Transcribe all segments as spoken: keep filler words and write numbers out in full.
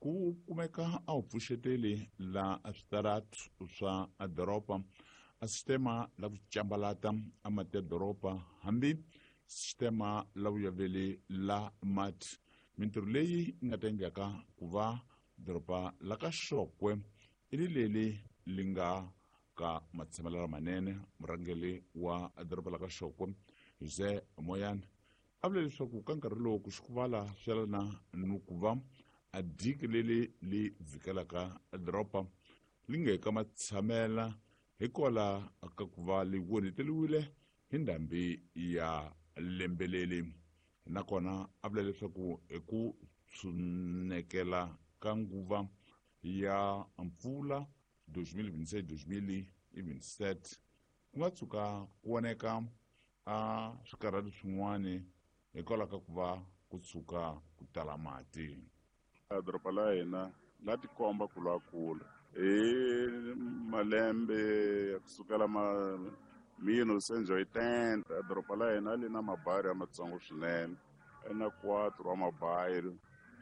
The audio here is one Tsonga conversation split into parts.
Ku kumeka a wu pfuxeteli la switaratu swa doroba, a sistema la ku cambalata a mati ya doroba, hambi sistema la vuyaveli la mati. Mintirho leyi nga ta endleka ku va doroba la ka Xokwe i ri leli li nga ka matshamelo lamanene. Murhangeri wa doroba la ka Xokwe, Jose Moyane, a vula leswaku ka nkarhi lowu ku xikuvala swi yelana ni ku va a diki leli li vhikelaka doroba li nge ka matshamela hikwalaho ka ku va li onheteriwile hi ndhambi ya lembeleli. Nakona a vula leswaku hi ku tshunekela ka nguva ya mpfula twenty twenty-six twenty twenty-seven, ku nga tshuka ku voneka a swikarhati swin'wani hikwalaho ka ku va ku tshuka ku tala mati. A doroba la hina la tikomba ku lwa kula hi malembe ya kusukela ma mille neuf cent oitenta. Doroba la hina li na mabayiro ya matsongo swinene, na quatro wa mabayiro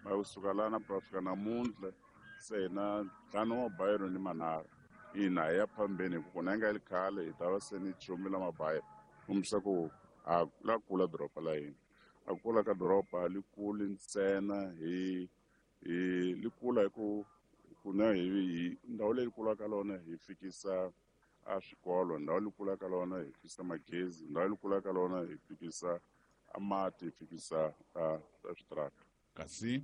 ma kusuka lana ku fika namuntlha se hi na ntlhanu wa mabayiro ni manharhu. Ina, hi ya phambeni hi ku kuna nga li khale hi ta va se ni chumile mabayiro, kombisa ku a la kula doroba la hina. A kula ka doroba li kuli ntsena hi hi li kula hi ku kuna hi hi ndhawu leyi kulaka lona hi fikisa a swikolo, ndhawu leyi kulaka lona hi fikisa magezi, ndhawu leyi kulaka lona hi fikisa a mati, hi fikisa a switarata. Kasi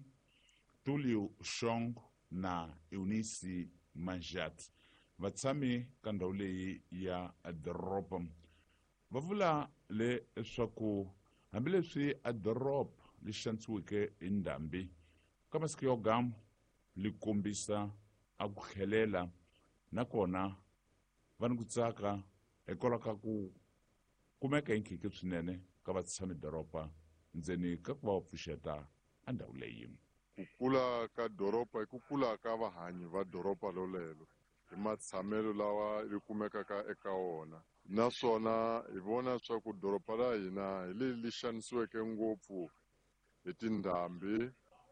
Tulio Shong na Eunice Manjat, vatshami ka ndhawu leyi ya doroba, va vula leswaku hambileswi a doroba li xanisiweke hi ndhambi, ka masiku yo gamu li kombisa a ku tlhelela, nakona va ni ku tsaka hikwalaho ka ku kumeka hi nkhikhi swinene ka vatshami doroba ndzeni ka ku va va pfuxeta a ndhawu leyi. Ku kula ka doroba i ku kula ka vahanyi va doroba lolelo hi matshamelo lawa ri kumekaka eka wona, naswona hi vona swa ku doroba ra hina hi leri li xanisiweke ngopfu hi tindhambi,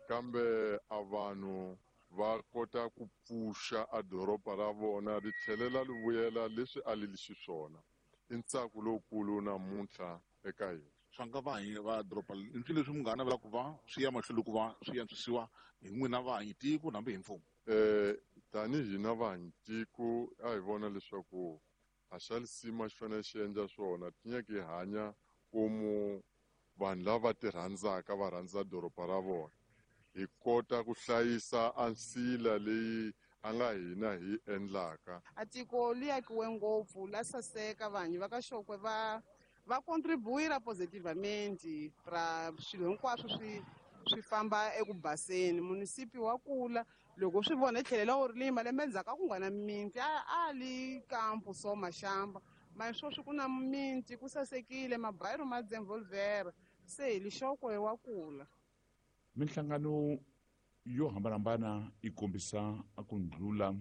kambe a vanhu va kota ku pfuxa a doroba ra vona ri tlhelela ri vuyela leswi a li li xiswona. I ntsako lowukulu namuntlha eka hina. Swa nga vahanyi va doroba i swilo leswi munghana vula ku va swi ya mahlweni ku va swi antswisiwa hi n'wina vahanyi tiko hambi hi mfumo? eh tanihi hina vahanyi tiko, a hi vona leswaku a xa lisima xi fanele xi endla swona tinyeke hi hanya komu vanhu lava ti rhandzaka va rhandza doroba ra vona, hi kota ku hlayisa a nsila leyi a nga hina hi endlaka. A tiko li akiwe ngopfu, la saseka. Vanhu va ka Xokwe va va contribuira positivamente ra swilo hinkwaswo swi swi famba eku baseni. Munisipi wa kula loko swi vona hi tlhelela u ri malembe endzhaku a ku nga na mimiti, a a li kampo so maxamba ma sweswi ku na mimiti, ku sasekile, mabayiro ma desenvolvera, se hi lixokwe wa kula. Minhlangano yo hambanahambana yi kombisa a ku ndlula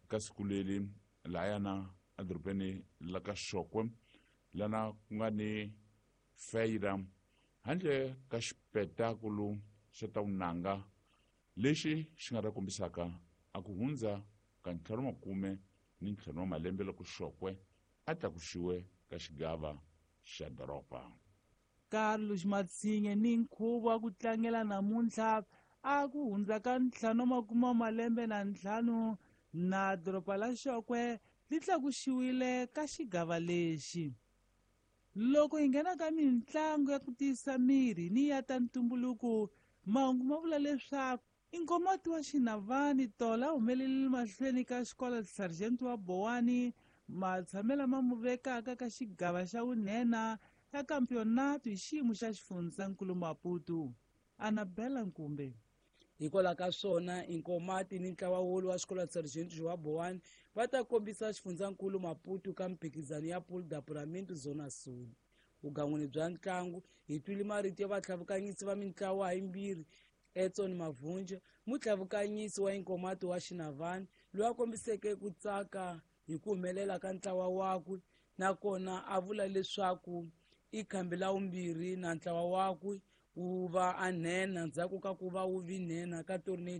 ka siku leri lahayana edorobeni la ka Xokwe, lana ku nga ni feira handle ka xipetakulu xa ta vunanga lexi xi nga ta kombisaka a ku hundza ka ntlhanu makume ni ntlhanu wa malembe loko Xokwe a tlakuxiwe ka xigava xa doroba. Carlos Matsinhe ni nkhuvo wa ku tlangela namuntlha a ku hundza ka ntlhanu makume wa malembe na ntlhanu na doroba la Xokwe li tlakuxiwile ka xigava lexi. Loko hi nghena ka mitlangu ya ku tiyisa miri ni ya ta ntumbuluko, mahungu ma vula leswaku Inkomati wa Xinavani tola humelelile mahlweni ka xikolo Sargent wa Bowani matshamelo ma mu vekaka ka xigava xa vunhena ya kampionato hi xiyimo xa xifundzankulu Maputo. Anabela Nkumbe. Hikwalaho ka swona, Inkomati ni ntlawa wolu wa xikolo Sergeant Joa Bowani va ta kombisa xifundzankulu Maputo ka mphikizano ya Pool d'Apuramento Zona Sul. Vugan'wini bya ntlangu, hi twile marito ya vatlhavukanyisi va mintlawa yimbirhi. Edson Mavhunja, mutlavukanyisi wa Inkomati wa Xinavani, loyi a kombiseke ku tsaka hi ku humelela ka ntlawa wakwe, nakona a vula leswaku i khambi la vumbirhi na ntlawa wakwe wu va a nhenha ndzhaku ka ku va wu vi nhenha ka tornado.